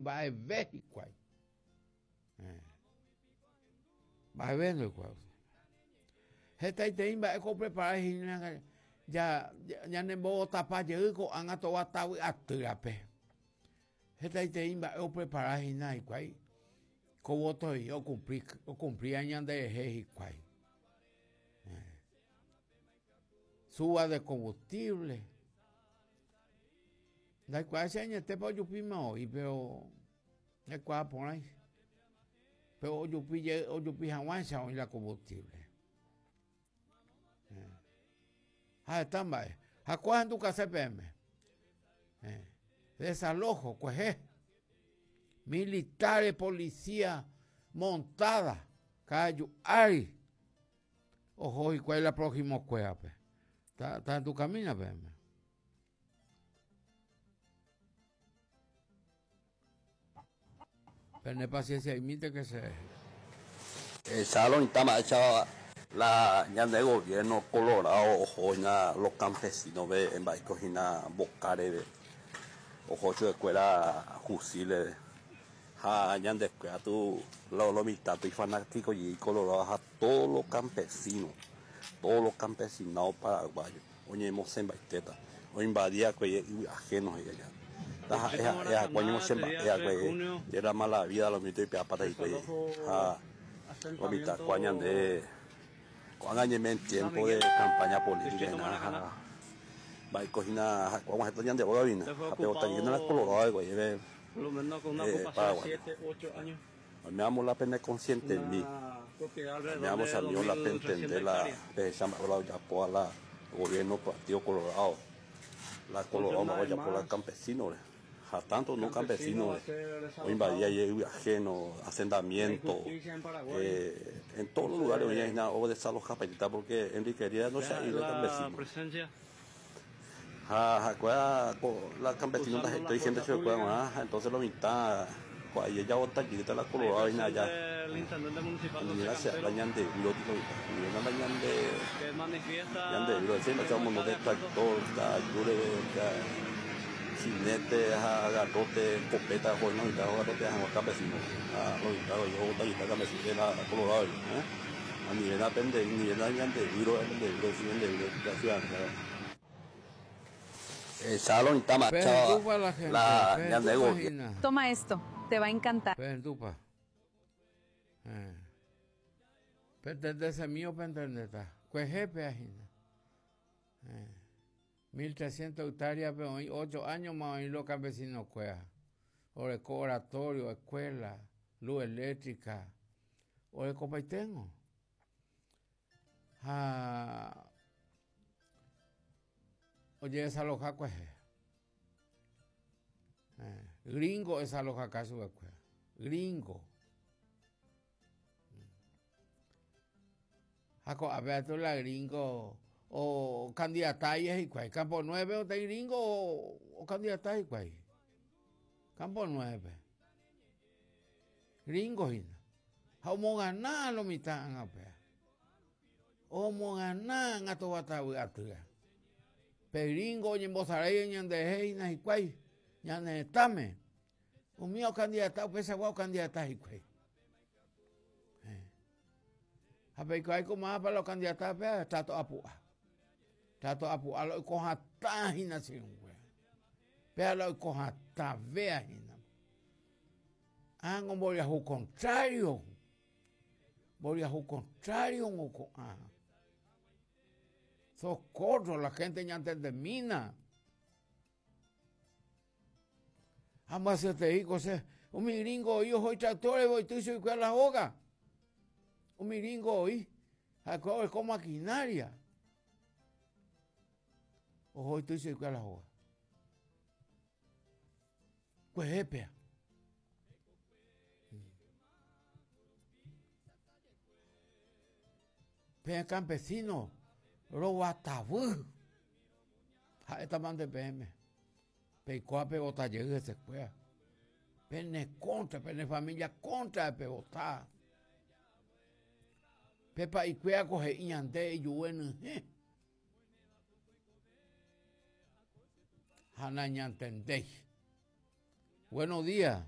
mba'eve hikuái. Eh. Mba'eve ndoikuaái. Hetaiterei mba'e ko oprepara hína ja ñanembovotapa jey ko'ág̃a tova tavy atýrape. Hetaiterei mba'e oprepara hína hikuái ko voto okumpli okumplía ñanderehe hikuái. Eh. Suba de combustible. Ndaikuaái che añetépa ojupíma voi, pero ndaikuaa porãi. Pero ojupi jey, ojupi hag̃uáicha oĩ la combustible. Eh. Ha heta mba'e. Ha ko ahendukase peẽme. Eh. Desalojo, kuehe. Militares, policía montada, ka'aju ári. Oho hikuái la prójimo kuérape. Ta, ta tu camina peẽme. Pene paciencia imínte que se. Echalo mitã mba'éicha la ñande gobierno colorado oho hína los campesinos pe mba'éiko hína mboka reve oho chupekuéra fusil-re ha ñandekuéra tu lo mitã tu ifanático jey colorado ha todos los campesinos todos los campesinado paraguayo oñemosẽmbaitéta oinvadi va'ekue yvy ajeno he'i aja taha'e ha'e akua oñemosẽmba'e va'ekue de la mala vida lo mitã oipe'apáta hikuái ha lo mitã kua ñande ko'ág̃a ñaime en tiempo de campaña política hína ha mba'éiko hína ha'ekuéra og̃uahẽta ñande rógagui hína ha pe otajýna la colorado hikuái Paraguáipe oiméramo la pene conscientemi oiméramo chamigo la pentende la pehecha mba'épa la ojapóva la gobierno partido colorado la colorado mba'épa ojapo la campesino-re ha tanto no campesino-re oinvadi aye yvy ajeno hacendamiento en todos los lugares oĩ hína odesalojapaitéta porque Enrique Riera ndocha'éi la campesino-re. Ha ha'ekuéra ko la campesino ndahetái gente chupekuéra g̃uarã ha entonces lo mitã ko aje javota jeýta la colorado hína aja anivéna che la ñande výro lo mitã anivéna la ñande ñande výro che mba'éicha omondo de tractor ka'aju reve jinete ha garrote escopeta oho hína mitã ogarrotea hag̃ua campesino ha lo mitã ovota jeýta campesino la colorado Anivéna pende, anivéna ñande výro, ñande výro, sí, ñande výro, la ciudadanía. Echalo mitã macha Pehendúpa la gente, la ñande pehendúpa gobierno. hína. Toma esto, te va a encantar. Pehendúpa. Eh. Pentendesemi o pentendéta. Kuehe péa hína. Eh. 1300 hectárea-pe oĩ ocho áñoma oĩ lo campesino-kuéra. Oreko oratorio, escuela, luz eléctrica. Orekopaiténgo. Ha ojedesaloja kuehe. Eh, gringo esalojaka chupekuéra. Gringo. Ha ko'ápe atu la gringo o candidata hikuái. Campo 9 oteĩ gringo o candidata hikuái. Campo 9. Gringo hína. Ha omogana lo mitã ág̃a upéva. Omogana ág̃a tovatavy atýra. Pe gringo oñembosarái ñanderehe hína hikuái ñane retãme. Umi okandidata upeichagua okandidata hikuái. Eh. Ha peikuaái ko mávapa la okandidata péva, trato apu'a. Trato apu'a la oiko hatã hína che irũnguéra. Péva la oiko hatãvéa hína. Ág̃a mboriahu contrario. Mboriahu contrario ngo ko'ã. Socorro, la gente ñantendemína. Ha mba'asyeterei ko che, umi gringo oĩ oho itractor-re oity chuguikuéra la hóga. Umi gringo oĩ, ha'ekuéra oreko maquinaria. Oho oity chuguikuéra la hóga. Kuehe péa. Peẽ campesino roguatavy. Ha'étama nde peẽme. Peikuaa pevota jey hesekuéra. Pene contra, pene familia contra pevota. Pe pa'ikuéra ko he'i ñande ijue nyhẽ. Ha nañantendéi. Buenos días.